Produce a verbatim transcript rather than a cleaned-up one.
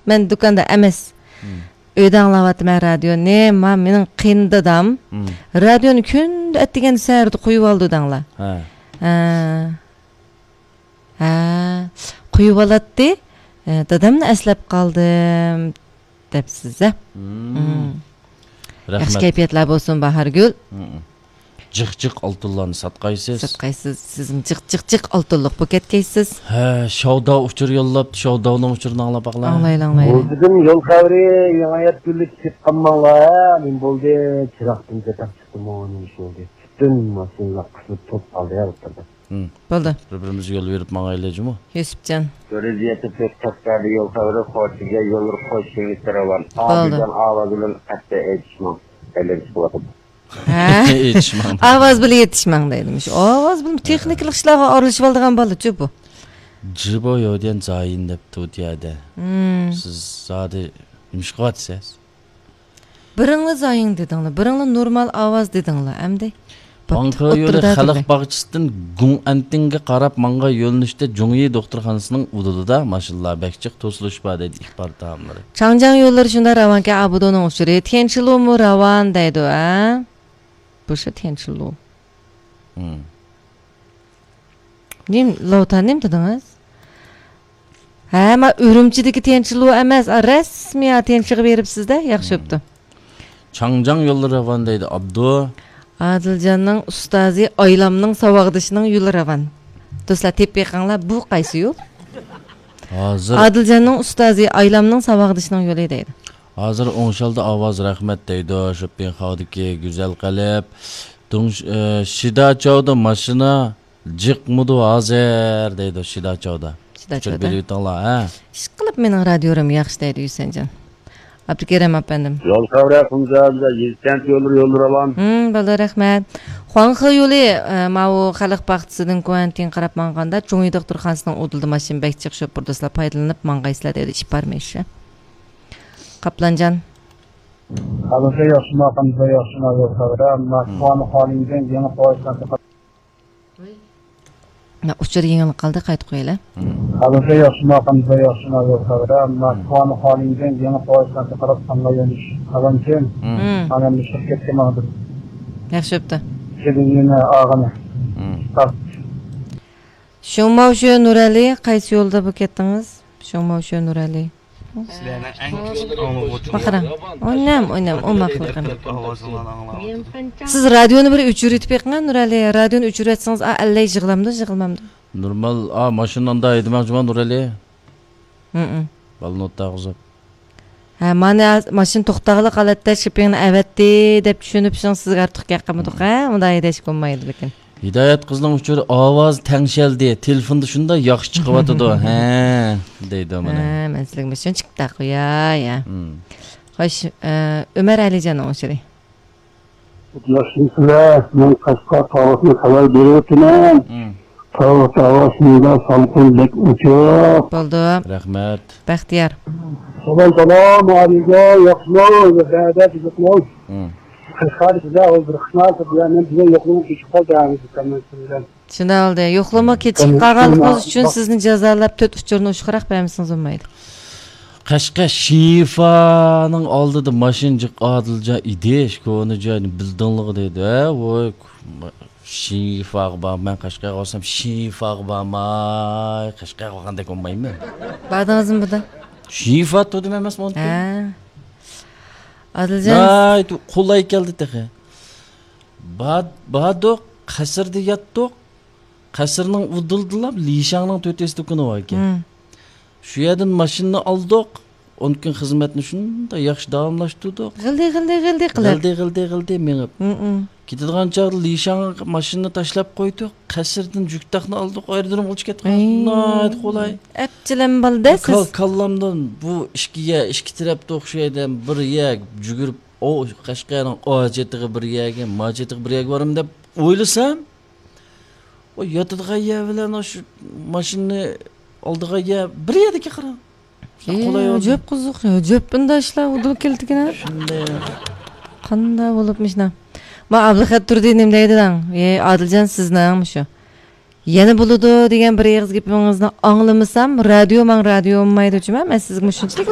مەن دۇكاندا ئەمەس. مم. ئۆيدە ئاڭلاۋاتىمەن رادىيونى. ما مېنىڭ قېيىندادام مم. رادىيونى كۈندە ئەتىگەندە سەھەردە قويۇۋالىدۇ دەڭلار. ھە. ھە. ھە. قويۇۋالاتتى. ئە، دادامنى ئەسلەپ قالدىم دەپسىز ھە. مم. مم. ياخشى رەھمەت. كەيپىياتلار بولسۇن باھارگۈل. مم. جىق جىق ئالتۇنلارنى ساتقايسىز. ساتقايسىز. سىزمۇ جىق جىق جىق ئالتۇنلۇق بولۇپ كەتكەيسىز. ھە، شاۋدا ئۇچۇر يوللاپتۇ، شاۋداۋنىڭ ئۇچۇرىنى ئاڭلاپ باقلا. ئاڭلايلى، ئاڭلايلى. بولدىدىم يول خەۋىرى، يېڭى ھايات گۈللۈك كېتىپ قالماڭلار ھە. نېمە بولدى؟ چىراغدىن چاتاق چىقتىمۇ، نېمە ئىش بولدى؟ پۈتۈن ماشىنىلار قىسىلىپ توپ قالدى ھە، ئوتتۇرىدا. مم. بولدى. بىر بىرىمىزگە يول بېرىپ ماڭايلى جۇمۇ. يۈسۈپجان. تۆت يۈز يەتتە تۆت قەشقەردە يول خەۋىرى، خوتەنگە يول خەۋىرى، خوش يېڭى راۋان. بولدى. ئادىلجان ئاۋازى بىلەن ئەستە ئېيتىشماڭ. ئەلەم چىقىۋاتىدۇ. ھە. ئېيتىشماڭ. ئاۋاز بىلەن ئېيتىشماڭ دەيدىمىش. ئاۋاز بىلەن تېخنىكىلىق ئىشلارغا ئارىلىشىۋالىدىغان بالىچۇ بۇ. جىبو يوديەن زايىن دەپتۇ ئۇ يەردە. مم. سىز زادى نېمە ئىش قىلىۋاتىسىز؟ بىرىڭلار زايىڭ دېدىڭلار، بىرىڭلار نورمال ئاۋاز دېدىڭلار، ئەمدى. بوپتۇ، ۋاڭخې يولى ئوتتۇرىدا خەلق تۇردى. باغچىسىدىن گۇڭئەن تىڭگە قاراپ ماڭغان يۆنىلىشتە جۇڭيى دوختۇرخانىسىنىڭ ئۇدۇلىدا ماشىنىلار بەك جىق توسۇلۇش بار دەيدۇ ئىخبارات تاملىرى. چاڭجياڭ يوللىرى شۇنداق راۋانكەن، ئابۇدۇنىڭ ئۇچۇرى. تيەنشىلۇمۇ راۋان دەيدۇ، ھە؟ بۇ شۇ تيەنشىلۇ. مم. نېم، لوتا نېمە دېدىڭىز؟ ھە، ما ئۈرۈمچىدىكى تيەنشىلۇ ئەمەس، ئا، رەسمىي ئا، تيەنشىغا بېرىپسىز-دە، ياخشى بوپتۇ. چاڭجياڭ يوللىرى راۋان دەيدۇ، ئابدۇ. ئادىلجاننىڭ ئۇستازى ئايلامنىڭ ساۋاقدىشىنىڭ يولى راۋان. دوستلار، تېپىپ بېقىڭلار، بۇ قايسى يول؟ ھازىر ئادىلجاننىڭ ئۇستازى ئايلامنىڭ ساۋاقدىشىنىڭ يولى دەيدۇ. ھازىر ئوڭشالدى ئاۋاز، رەھمەت دەيدۇ، شوپپىڭخاۋدىكى گۈزەل قەلب. دۇڭ-، ئە، شىداچاۋدا ماشىنا جىقمىدۇ ھازىر دەيدۇ شىداچاۋدا. شىداچاۋدا. ئۇچۇر بېرىۋېتىڭلار، ھە. ئىشقىلىپ مېنىڭ رادىيورۇم ياخشى دەيدۇ يۈسەنجان. ئابدۇكېرىم ئەپەندىم. يول خەۋىرى قۇمجا، يېزا كەنت يوللىرى، يوللىرى راۋان. ھىم، بولدى، رەھمەت. خۇاڭخې يولى، ئە، ماۋۇ خەلق باغچىسىدىن گۇەنتىڭ قاراپ ماڭغاندا، جۇڭيى دوختۇرخانىسىنىڭ ئۇدۇلىدا ماشىنا بەك جىق شوپۇر دوستلار، پايدىلىنىپ ماڭغايسىلەر دەيدۇ، ئىپارمىش. قاپلانجان. ھازىرچە ياخشىما، قانداق ياخشىما يول خەۋىرى، ئەمما مم. خۇاڭخېدىن يېڭى پويىز مەنتىقە مانا، ئۇچۇر يېڭىلىپ قالدى، قايتا قويايلى. ھازىرچە ياخشىما، قانداق ياخشىما يول خەۋىرى، ئەمما مم. خۇاڭخېدىن يېڭى پويىز مەنتىقە قاراپ ساڭا يۆنىش قالغانكىن، مم. مم. مانا ئەمدى شىركەتكە ماڭدىم. ياخشى بوپتۇ. كېلىن يەنە ئاغىنە. مم. شۇڭماۋشۆ نۇرئەلى، قايسى يولدا بولۇپ كەتتىڭىز؟ شۇڭماۋشۆ نۇرئەلى. سىلەرنىڭ ئەڭ كىچىك ئاڭلىغۇچىڭلار. ماقىرا. ئونام، ئونام، ئۇ ماقىرا. ئاۋازىڭلارنى ئاڭلاۋاتىدۇ. سىز رادىيونى بىر ئۆچۈرۈۋېتىپ بېقىڭ، نۇرئەلى. رادىيونى ئۆچۈرۈۋەتسىڭىز، ئا، ئەللەي يىغلامدۇ، يىغلامدۇ. نورمال، ئا، ماشىنا ئاندا ھەيدىمەڭچىما، نۇرئەلى. ھىم. بالىنى ئوتتا قىزىپ. ھە، مانا ماشىنا توختاغلىق ھالەتتە شىپىڭنى ئەۋەتتى دەپ چۈشىنىپ، شۇڭا سىزگە ئارتۇق گەپ قىلمىدۇق، ھە؟ ئۇنداق ھەيدەشكە بولمايدۇ لېكىن. ھىدايەت قىزنىڭ ئۇچۇرى ئاۋاز تەڭشەلدى، تېلېفوندا شۇنداق ياخشى چىقىۋاتىدۇ، ھە، دەيدۇ مانا. ھە، مەن سىزگە مۇشۇنى چىقىپ تاقىياي، يا. ھىم. خوش، ئە، ئۆمەر ئەلىجاننىڭ ئۇچۇرى. ياخشىمۇسىلەر؟ مەن قەشقەر تاۋۇشتىن خەۋەر بېرىۋاتىمەن. ھىم. تاۋۇش، تاۋۇش شۇنداق سالقىن، بەك ئوچۇق. بولدى. رەھمەت. بەختىيار. سالام، سالام، ئالىيجان، ياخشىمۇ؟ بەدە تۈزۈكمۇ؟ ھىم. قەشقەردە سىزلەر ھازىر خىزمەت بىلەن مەن بۈگۈن يوقلىماي كېچىكىپ قالدىم، سىز بىلەن. شۇنداق بولدى. يوقلىما كېچىكىپ قالغانلىقىڭىز ئۈچۈن سىزنى جازالاپ تۆت ئۇچۇرنى ئوشۇقراق بەرمىسىڭىز بولمايدۇ. قەشقەر شىنفانىڭ ئالدىدا ماشىنا جىق ئادىلجان ئىدىش، كونا جاينى بىلدىڭلىغۇ دەيدۇ. ھە، ۋوي، شىنفاغا بار، مەن قەشقەرگە بارسام شىنفاغا بارماي، قەشقەرگە بارغاندەك بولمايمەن. باردىڭىزمۇ بۇدا؟ شىنفا تۇردۇم ئەمەسمۇ ئۇنتۇم. ھە. ئادىلجان. ناھايىتى قولاي كەلدى تېخى. بار-، باردۇق، قەسىردە ياتتۇق. قەسىرنىڭ ئۇدۇلىدىلا لىشاڭنىڭ تۆتىيىنچى دۇكىنى باركەن. ھىم. شۇ يەردىن ماشىنىنى ئالدۇق. ئون كۈن خىزمەتنى شۇنداق ياخشى داۋاملاشتۇردۇق. غىلدى، غىلدى، غىلدى قىلىپ. غىلدى، غىلدى، غىلدى مېڭىپ. ھىم، ھىم. كېتىدىغان چاغدا لىشاڭغا ماشىنىنى تاشلاپ قويدۇق. قەسىردىن جۈكتاقنى ئالدۇق، ئايرودرومغا ئۇچۇپ كەتتۇق. ئەي. ناھايىتى قولاي. ئەپچىلەم بالدى بۇ كال-، سىز. كاللامدىن بۇ ئىككى يە، ئىككى تەرەپتە ئوخشايدۇ. بىر يە جۈگۈرۈپ، ئۇ قەشقەرنىڭ ئاچېتىغا بىر يەرگە، ماچېتىغا بىر يەرگە بارىمەن دەپ ئويلىسام، ئۇ ياتىدىغان يەر بىلەن ئاشۇ ماشىنىنى ئالىدىغان يەر بىر يەردىكەن قاراڭ. ئى، قولاي ئەجەب قىزىق، ئەجەب بۇنداق ئىشلار ئۇدۇل كېلىدىكەن. شۇنداق. قانداق بولۇپ مۇشۇنداق؟ ما ئابلىخەت تۇردى نېمە دەيدۇ دەڭ؟ ئى، ئادىلجان سىزنىڭ مۇشۇ. يەنە بولىدۇ دېگەن بىر ئېغىز گېپىڭىزنى ئاڭلىمىسام، رادىيو ماڭ رادىيو بولمايدۇ جۇما. مەن سىزگە مۇشۇنچىلىك